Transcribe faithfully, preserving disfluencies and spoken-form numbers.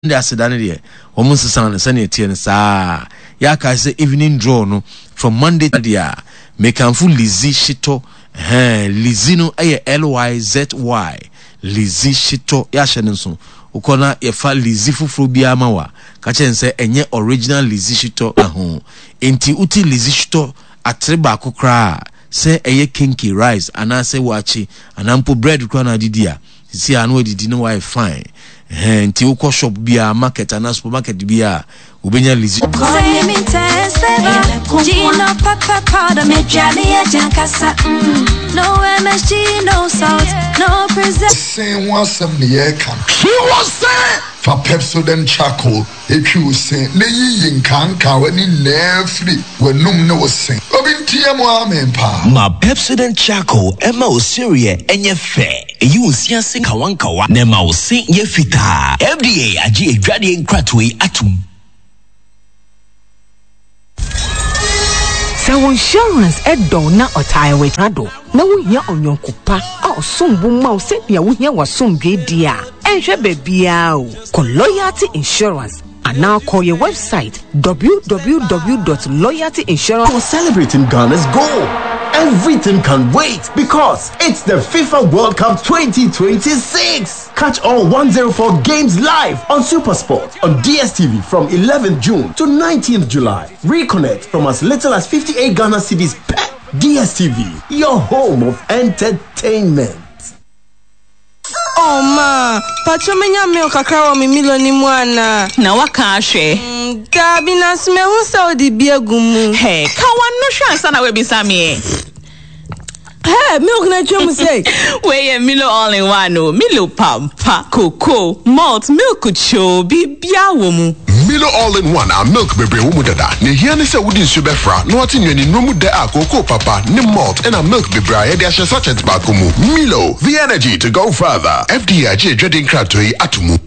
De aseda no deɛ, wɔn nsesa no sɛnea ɛteɛ no saa. Yɛaka sɛ evening draw no from Monday deɛ a, mekamfo Lizzy Shitɔ. Ɛhɛn, Lizzy no ɛyɛ L Y Z Y, Lizzy Shitɔ. Yɛahyɛ no nso, wokɔ na yɛfa Lizzy foforɔ biara ma wa ka kyerɛ sɛ ɛnyɛ original Lizzy Shitɔ ho. Nti wote Lizzy Shitɔ atere baako koraa, sɛ ɛyɛ kenkey, rice anaasɛ wakye anaa mpo bread koraa na adidi a, sisi a na wadidi na wayɛ fine. Ɛhɛn, nti wokɔ shop biara, market anaa supermarket biara, wobɛnya Lizzy. Same intense flavor. Gino pepper powder, me johnny jankasa. No M S G, no salt, no preservative. Sen ho asɛm ne yɛreka. Twi wo se. Fa Pepsodent Charcoal etwi wo se na yiyi nkankawa ne nyinaa firi w'anum ne wo se. Obi nteɛ mu, amen paa. Ma Pepsodent Charcoal ɛma wo sereɛ ɛnyɛ fɛ, ɛyi wo si ase nkawankawa na ɛma wo se yɛ fitaa. F D A agye adwadeɛ nkratoɔ yi atom. Sɛ wo insurance ɛdɔw na ɔtae w'akyi do na wohia ɔnyɔnko pa a ɔsom bo ma wo sɛnea wohia w'asomdwe di a, ɛnhwɛ baabiara o, kɔ Loyalty Insurance anaa kɔ yɛ website w w w dot loyalty insurance For celebrating Ghana's goal. Everything can wait because it's the FIFA World Cup twenty twenty-six. Catch all one hundred four games live on Supersport on D S T V from eleventh June to nineteenth July. Reconnect from as little as fifty-eight Ghana cedis per. D S T V, your home of entertainment. Oh ma, patro, menya milk kakra wɔ me Milo ni mu ana? Na waka ahwɛ. Mm, Daabi, na so mehu sɛ wode bi agu mu. Hey, ka wano hwɛ ansa na wabisa me. Hey, milk na atwa mu sɛ. Wei Milo all in one o. Milo pampa, cocoa, malt, milk cho, bibia wɔ mu. Milo all in one a milk bebree wɔ mu dada na ehia ne sɛ wode nsuo bɛfra na wate nnuane nnuro mu dɛ a kookoo papa ne malt ɛna milk bebree a yɛde ahyɛ sachet baako mu. Milo, the energy to go further. F D A agye adwade nkratoɔ yi ato mu.